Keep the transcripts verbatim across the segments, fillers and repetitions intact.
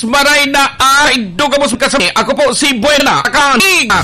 Maray na ay dugamos kasami. Ako po si Buena Kaniga.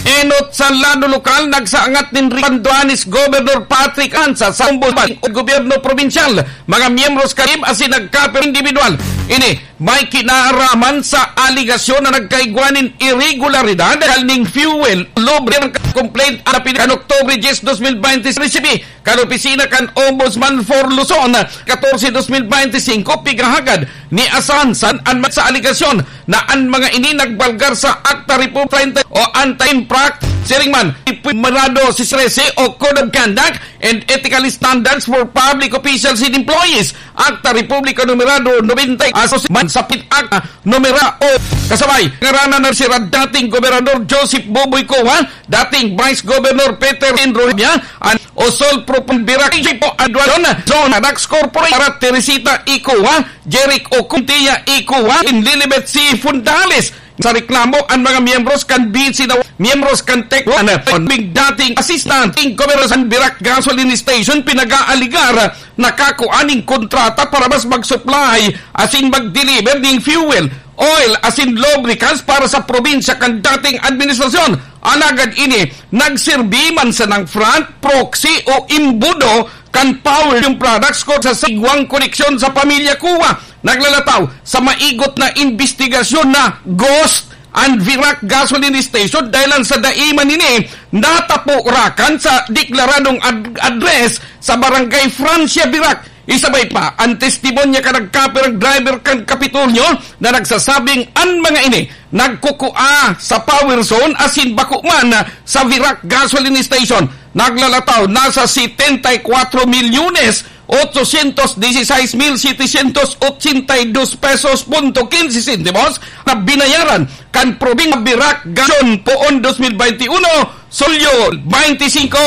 Enot sa lado lokal, nagsaangat nin Ripanduanis Governor Patrick Ansa sa Ombudsman o Gobyerno Probinsyal, mga miyembros kan team asin nagkapir individual. Ini may kinaaraman sa aligasyon na nagkaigwa nin irregularidad dahil ning fuel lubricant complaint na pili kan Oktubre dies, dos mil baynte, resibi kan opisina kan Ombudsman for Luzon, katorse, dos mil baynte singko, pigahagad ni Asansan an sa aligasyon na an mga ini nagbalgar sa Acta Repub treinta o Anti-Infract, siring man, Merado si trese o Code of Conduct and Ethical Standards for Public Officials and Employees, Acta Republika Numerado nobenta y dos, man sa Pit Acta Numera o kasabay, ngaranan na si dating Gobernador Joseph Boboy Cua, dating Vice Governor Peter Enrohia, an Osol Propon Birac, Chipo Aduanon, Zona Dax Corporate, para Teresita Icua, Jeric Ocontia Icua, in Lilibet C. Fundales. Sa reklamo, an mga miyembros kan B C na miyembros kan Tech One, an dating assistant in Governor sa Birac Gasoline Station, pinag-aaligar na kakua nin kontrata para mas mag-supply asin mag-deliver nin fuel, oil asin lubricants para sa probinsya kan dating administrasyon. Alagad ini, nagsirbi man sanang front, proxy o embudo kan Power yung products ko sa sigwang koneksyon sa pamilya Cua. Naglalataw sa maigot na imbestigasyon na ghost an Virac Gasoline Station dahil lang sa dai man ini natapo rakan sa deklaradong ad-, address sa Barangay Francia, Virac. Isabay pa, an testimonya kan nagkapirang driver kan Kapitolyo na nagsasabing an mga ini nagkukua sa power zone asin bako man sa Virac Gasoline Station. Naglalataw na sa setenta y cuatro milyones ochocientos dieciséis mil setecientos ochenta y dos pesos punto quince centimos na binayaran kan Probinsya Virac Gason poon dos mil baynte uno, Sulyo baynte singko.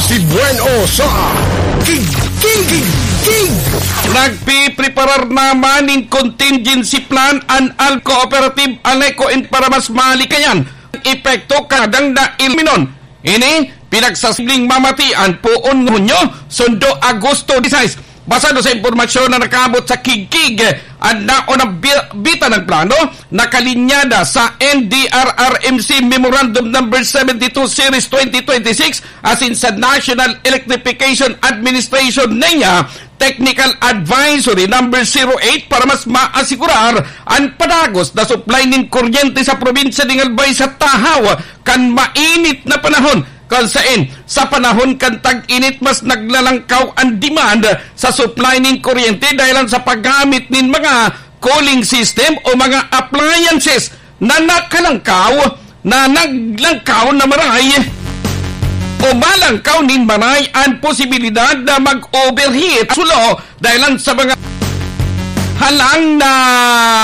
Si Bueno sa King, King, King, King. Nagpipreparar naman nin contingency plan an Al Cooperative Aleco in para mas malikayan epekto kadang na ilminon. Ini, pinagsasibling mamatian poon Hunyo, sundo Agosto diseis. Basado sa impormasyon na nakaabot sa Kigkig, an naon ang bi-, bita ng plano, nakalinyada sa N D R R M C Memorandum Number seventy-two Series twenty twenty-six, asin sa National Electrification Administration, NEA, Technical Advisory Number zero eight para mas maasigurar an padagos na supply nin kuryente sa probinsya nin Albay sa tahaw kan mainit na panahon, kun saen sa panahon kan tag-init mas naglalangkaw an demand sa supply nin kuryente dahelan sa paggamit nin mga cooling system o mga appliances na nakalangkaw, na naglangkaw na maray o malangkaw nin maray an posibilidad na mag-overheat sulo dahelan sa mga halang na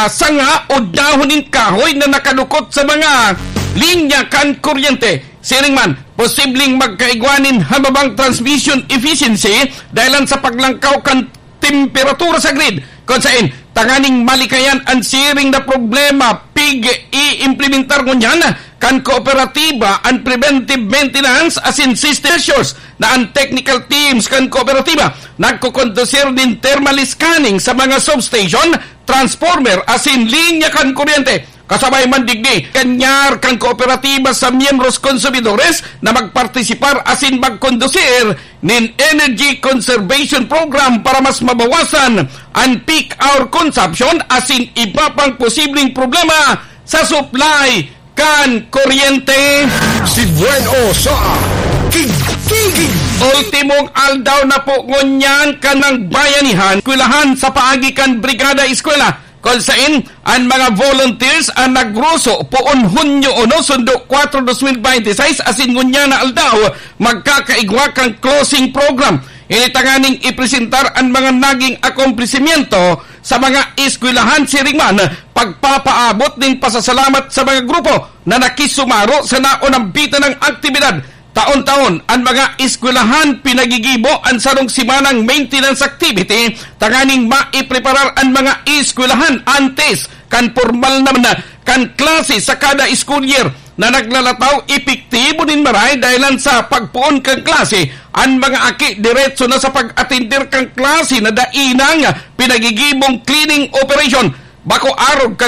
sanga o dahon nin kahoy na nakadukot sa mga linya kan kuryente. Siring man, posibleng magkaigwa nin hababang transmission efficiency dahelan sa paglangkaw kan temperatura sa grid, kun saen tanganing malikayan an siring na problema, pig-iimplementar ngunyan kan kooperatiba an preventive maintenance asin system measures na an technical teams kan kooperatiba nagkokondusir nin thermal scanning sa mga substation, transformer asin linya kan kuryente. Kasabay man digdi, kanyar kan kooperatiba sa miyembros konsumidores na magpartisipar asin magkondusir nin Energy Conservation Program para mas mabawasan an peak hour consumption asin iba pang posibleng problema sa supply kan kuryente. Si Bueno sa King, King, King. Ultimong aldaw na po ngunyan kan Bayanihan Eskwelahan sa paagi kan Brigada Eskwela. Kun saen an mga volunteers an nagruso poon Hunyo uno, sundo kuwatro, dos mil baynte seis, asin ngunyan na aldaw, magkakaigwa kan closing program. Ini tanganing ipresentar an mga naging akomplesimiento sa mga eskwelahan, siring man pagpapaabot nin pasasalamat sa mga grupo na nakisumaro sa naonambitan nang aktibidad. Taon-taon, an mga eskwelahan pinagigibo an sarong semanang maintenance activity tanganing maipreparar an mga eskwelahan antes kan pormal naman na kan klase sa kada school year na naglalataw epektibo nin maray dahelan sa pagpoon kan klase. An mga aki diretso na sa pag-atender kan klase na dai nang pinagigibong cleaning operation. Bako arog kan